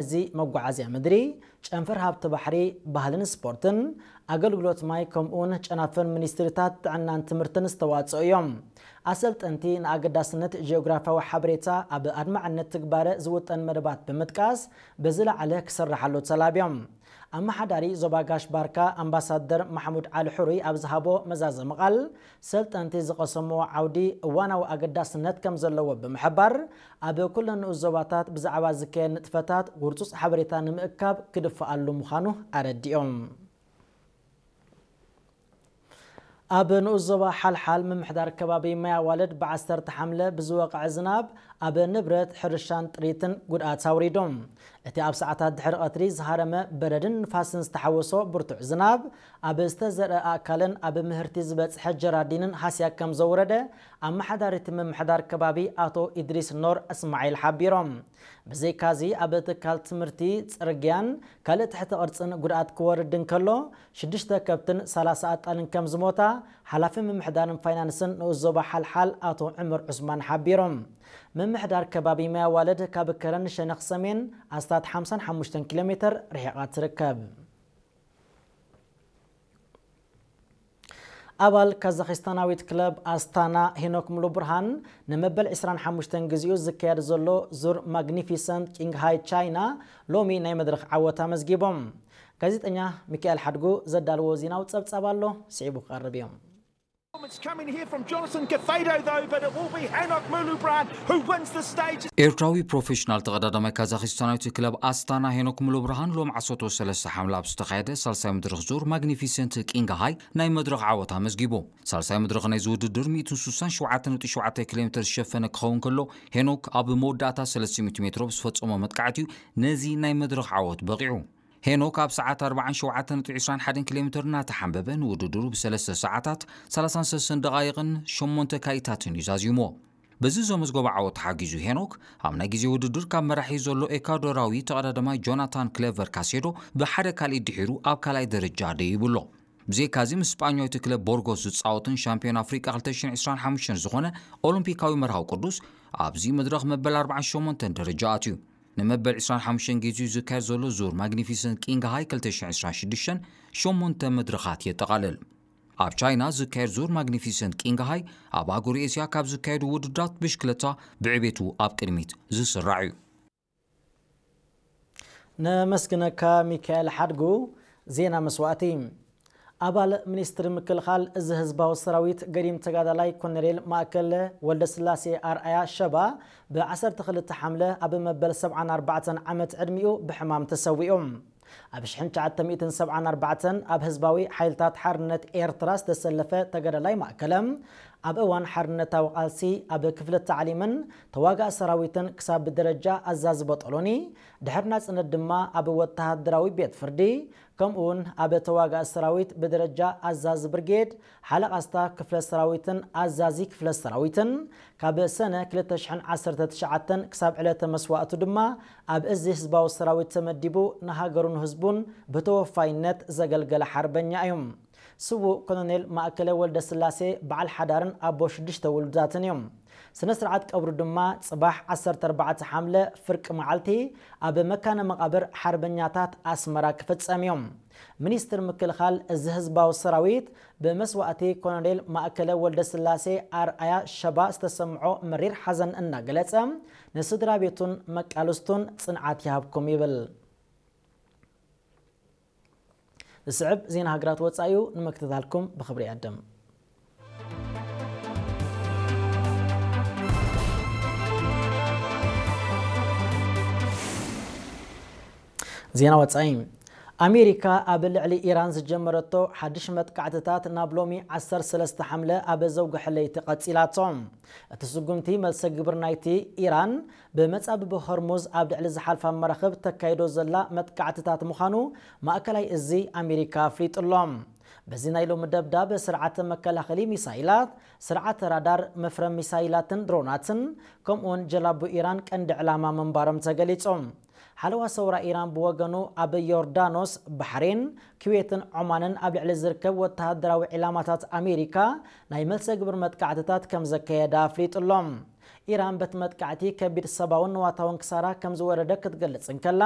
እዚ መጓዓዝያ ምድሪ፣ ጨንፈር ሃብቲ ባሕሪ፣ ባህልን ስፖርትን፣ ኣገልግሎት ማይ፣ ከምኡውን ጨናፍር ሚኒስትሪታት ጥዕናን ትምህርትን ዝተዋጽኦ እዮም። ኣሰልጠንቲ ንኣገዳስነት ጂኦግራፊያዊ ሓበሬታ ኣብ ኣድማዕነት ትግባረ ዝውጠን መደባት ብምጥቃስ ብዝለዓለ ክስርሓሉ ተላብዮም። ኣመሓዳሪ ዞባ ጋሽ ባርካ ኣምባሳደር ማሕሙድ ዓሊ ሕሩይ ኣብ ዝሃቦ መዛዘሚ ቃል፣ ሰልጠንቲ ዝቐሰምዎ ዓውዲ እዋናዊ ኣገዳስነት ከም ዘለዎ ብምሕባር፣ ኣብ ኩለን ንኡስ ዞባታት ብዛዕባ ዝካየድ ንጥፈታት ውርጹጽ ሓበሬታ ንምእካብ ክድፍኣሉ ምዃኑ ኣረዲኦም። ኣብ ንኡስ ዞባ ሓልሓል ምምሕዳር ከባቢ ማይ ኣዋልድ ብዓሰርተ ሓምለ ብዝወቕዐ ዝናብ ኣብ ንብረት ሕርሻን ጥሪትን ጉድኣት ኣውሪዱ። እቲ ኣብ ሰዓታት ድሕሪ ቀትሪ ዝሃረመ በረድን ንፋስን ዝተሓወሶ ብርቱዕ ዝናብ ኣብ ዝተዘርአ ኣእካልን ኣብ ምህርቲ ዝበጽሐ ጀራዲንን ሃስያ ከም ዘውረደ ኣመሓዳሪ እቲ ምምሕዳር ከባቢ ኣቶ ኢድሪስ ኖር እስማዒል ሓቢሮም። ብዘይካዚ ኣብ ትካል ትምህርቲ፣ ጽርግያን ካልእ ትሕቲ ቅርጽን ጉድኣት ክወርድ እንከሎ ሽዱሽተ ከብትን ሰላሳ ኣጣልን ከም ዝሞታ ሓላፊ ምምሕዳርን ፋይናንስን ንኡስ ዞባ ሓልሓል ኣቶ ዕምር ዑስማን ሓቢሮም። ምምሕዳር ከባቢ ማይ ኣዋልድ ካብ ከረን ሸነኽ ሰሜን ኣስታት ሓምሳን ሓሙሽተን ኪሎ ሜትር ርሒቓ ትርከብ። ኣባል ካዛኺስታናዊት ክለብ ኣስታና ሄኖክ ሙሉ ብርሃን ንመበል ዕስራን ሓሙሽተን ግዜኡ ዝካየድ ዘሎ ዙር ማግኒፊሰንት ቂንግ ሃይ ቻይና ሎሚ ናይ መድረኽ ዓወት ኣመዝጊቦም። ጋዜጠኛ ሚካኤል ሓድጉ ዘዳለዎ ዜናዊ ጸብጻብ ኣሎ፣ ስዒቡ ክቐርብ እዮም። It's coming here from Jonathan Cafedo, though, but it will be Hanok Mulubrand who wins the stage. ኤርትራዊ ፕሮፌሽናል ተቐዳዳማይ ካዛኺስታናዊት ክለብ ኣስታና ሄኖክ ሙሉ ብርሃን ሎም ዓሰርተ ሰለስተ ሓምለ ኣብ ዝተኻየደ ሳልሳይ መድረኽ ዙር ማግኒፊሰንት ቂንግ ሃይ ናይ መድረኽ ዓወት ኣመዝጊቡ። ሳልሳይ መድረኽ ናይዚ ውድድር ሚእትን ስሳን ሸውዓተን ነጥቢ ሸውዓተ ኪሎ ሜትር ዝሸፈነ ክኸውን ከሎ፣ ሄኖክ ኣብ መወዳእታ ሰለስተ ሚእቲ ሜትሮ ብዝፈጸሞ መጥቃዕቲ እዩ ነዚ ናይ መድረኽ ዓወት በቒዑ። ሄኖክ ኣብ ሰዓት ኣርባዓን ሸውዓተን ነጥቢ ዕስራን ሓደን ኪሎ ሜትር እናተሓንበበ ንውድድሩ ብሰለስተ ሰዓታት ሰላሳን ሰለስተን ደቓይቕን ሸሞንተ ካኢታትን እዩ ዛዚሞ። በዚ ዘመዝገቦ ዓወት ተሓጊዙ ሄኖክ ኣብ ናይ ግዜ ውድድር ካብ መራሒ ዘሎ ኤኳዶራዊ ተቐዳዳማይ ጆናታን ክሌቨር ካሴዶ ብሓደ ካልእ ድሒሩ ኣብ ካልኣይ ደረጃ ደይቡ ኣሎ። ብዘይካዚ ምስ ስጳኛዊት ክለብ ቦርጎስ ዝጻወትን ሻምፒዮን ኣፍሪቃ ክልተ ሽሕን ዕስራን ሓሙሽተን ዝኾነ ኦሎምፒካዊ መርሃዊ ቅዱስ ኣብዚ መድረኽ መበል ኣርባዓን ሸሞንተን ደረጃ ኣትዩ። ንመበል ዕስራን ሓሙሽተን ግዜኡ ዝካየድ ዘሎ ዙር ማግኒፊሰንት ቂንግ ሃይ ክልተ ሽሕን ዕስራን ሽዱሽተን ሸሞንተ መድረኻት የጠቓልል። ኣብ ቻይና ዝካየድ ዙር ማግኒፊሰንት ቂንግ ሃይ ኣብ ኣህጉር ኤስያ ካብ ዝካየዱ ውድድራት ብሽክለታ ብዕቤቱ ኣብ ቅድሚት ዝስራዕ እዩ። ነመስግነካ ሚካኤል ሓድጉ። ዜና መስዋእቲ። ኣባል ሚኒስትሪ ምክልኻል እዚ ህዝባዊ ሰራዊት ገዲም ተጋዳላይ ኮሎኔል ማእከለ ወልደስላሴ ኣርኣያ ሸባ ብ ዓሰርተ ክልተ ሓምለ ኣብ መበል ሰብዓን ኣርባዕተን ዓመት ዕድሚኡ ብሕማም ተሰዊኡ። ኣብ ሽሕን ትሽዓተ ሚእትን ሰብዓን ኣርባዕተን ኣብ ህዝባዊ ሓይልታት ሓርነት ኤርትራ ዝተሰለፈ ተጋዳላይ ማእከለ፣ ኣብ እዋን ሓርነታዊ ቃልሲ ኣብ ክፍሊ ታዕሊምን ተዋጋእ ሰራዊትን ክሳብ ብደረጃ ኣዛዚ ቦጦሎኒ፣ ድሕሪ ናጽነት ድማ ኣብ ወተሃደራዊ ቤት ፍርዲ፣ ከምኡውን ኣብ ተዋጋእ ሰራዊት ብደረጃ ኣዛዚ ብርጌድ፣ ሓለቓ ስታፍ ክፍለ ሰራዊትን ኣዛዚ ክፍለ ሰራዊትን፣ ካብ ሰነ ክልተ ሽሕን ዓሰርተ ትሽዓተን ክሳብ ዕለተ መስዋእቱ ድማ ኣብ እዚ ህዝባዊ ሰራዊት ተመዲቡ ንሃገሩን ህዝቡን ብተወፋይነት ዘገልገለ ሓርበኛ እዩ። ስዉእ ኮሎኔል ማእከለ ወልደስላሴ በዓል ሓዳርን ኣቦ ሽዱሽተ ውሉዳትን እዩ። ስነ ስርዓት ቀብሩ ድማ ጽባሕ ዓሰርተ ኣርባዕተ ሓምለ ፍርቂ መዓልቲ ኣብ መካነ መቓብር ሓርበኛታት ኣስመራ ክፍጸም እዩ። ሚኒስትር ምክልኻል እዚ ህዝባዊ ሰራዊት ብመስዋእቲ ኮሎኔል ማእከለ ወልደስላሴ ኣርኣያ ሸባ ዝተሰምዖ መሪር ሓዘን እናገለጸ፣ ንስድራ ቤቱን መቃልስቱን ጽንዓት ይሃብኩም ይብል። ዝስዕብ ዜና ሃገራት ወጻኢ እዩ፣ ንምክትታልኩም ብኽብሪ ይዕድም። ዜና ወጻኢ። ኣሜሪካ ኣብ ልዕሊ ኢራን ዝጀመረቶ ሓድሽ መጥቃዕትታት ናብ ሎሚ ዓሰርተ ሰለስተ ሓምለ ኣብ ዘውግሐ ለይቲ ቀጺላቶ። እቲ ስጉምቲ መልሰ ግብሪ ናይቲ ኢራን ብመጻብቦ ሆርሙዝ ኣብ ልዕሊ ዝሓልፋ መራኽብ ተካይዶ ዘላ መጥቃዕትታት ምዃኑ ማእከላይ እዚ ኣሜሪካ ኣፍሊጡ ኣሎ። በዚ ናይ ሎሚ ደብዳብ ስርዓተ መከላኸሊ ሚሳይላት፣ ስርዓተ ራዳር፣ መፍረ ሚሳይላትን ድሮናትን፣ ከምኡውን ጀላቡ ኢራን ቀንዲ ዕላማ ምንባሮም ተገሊጹ። ሓለዋ ሰውራ ኢራን ብወገኑ ኣብ ዮርዳኖስ፣ ባሕሬን፣ ኩዌትን ዖማንን ኣብ ልዕሊ ዝርከብ ወተሃደራዊ ዒላማታት ኣሜሪካ ናይ መልሰ ግብሪ መጥቃዕትታት ከም ዘካየደ ኣፍሊጡ ኣሎ። ኢራን በቲ መጥቃዕቲ ከቢድ ሰብኣውን ንዋታውን ክሳራ ከም ዝወረደ ክትገልጽ እንከላ፣